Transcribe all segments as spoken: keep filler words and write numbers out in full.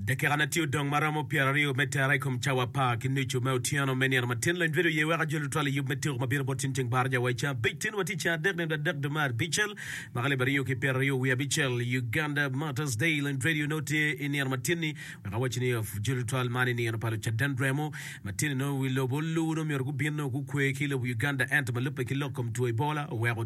Dakika na tye odong maromo pyeraryo me tera i kom cawa apar ki nucu me otyeno me nino matin lony bedo ye wek ajol tutwal i yub me tuko ma bino bot tin ceng baraja wa i ceng abic tin wa tye ceng adek nino adek dwe me abicel mwaka alip aryo ki pyeraryo wiye abicel Uganda Martyrs Day Lony Radio nongo tye i nino matin-ni wek awaci ni ajol tutwal man i nino pa lucaden remo matin-ni nongo wi lobo olu nongo myero gubin nongo gukwe ki i lobo Uganda ento ma lubbe ki lok kom two Ebola oweko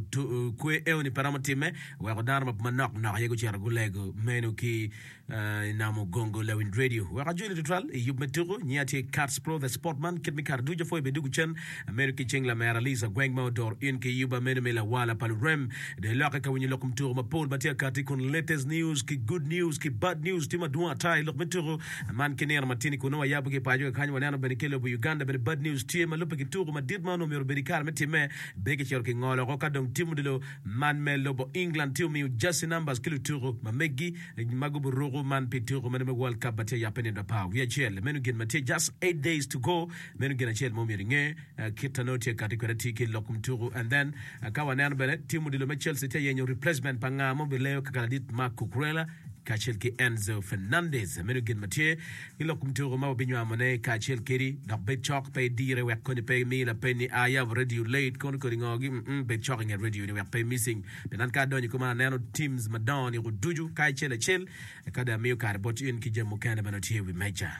kwe eo ni pe romo timme oweko dano manok nok aye gucito gulego meno ki I namo gongo lawiny radio wek ajoli tutwal i yub me tuku. Nyinga tye Kats Pro the Sport Man. Kit me kare ducu apwoyo bene dugu cen amedo ki cing lamera Lisa Gweng ma odoro in ki yuba meno me lawala pa lurem. Dong ilokke ka winyo lok kom tuku mapol ma tye akati kun latest news ki good news ki bad news tye madwong ata i lok me tuku man ki nino matini kun nongo wayabo ki i paco kakany waneno bene ki i lobo Uganda bene bad news tye ma lubbe ki tuku madit ma onongo myero obed i kare me timme be kicito kingolo oko ka dong tim odilo man me lobo England tye omiyo jersey numbers ki lutuku ma megi ma gubiruko man pi tuko meno me World Cup ma tye yabbe nino apar wiye acel. Meno gin ma tye just eight days to go. Meno gin acel ma omyero inge kit ma nongo tye kati kwede atir ki lok kom tuko. And then ka waneno bene team odilo me Chelsea tye yenyo replacement pa nga ma obileyo kaka ladit Marc Cucurella kacel ki Enzo Fernandez. Meno gin ma tye ki lok kom tuko ma wabinywamone kacel kedi. Dok bed cok pe idire wek koni pe imi lapeny ni ayabo radio late kono kodi ngogi. Mm -mm, bed cok inget radio ni wek pe missing. Pien an ka adonyo i koma aneno teams madongo niko ducu ka acel acel, ka dong amiyo kare bot in ki jami mukene ma nongo tye i wi meja.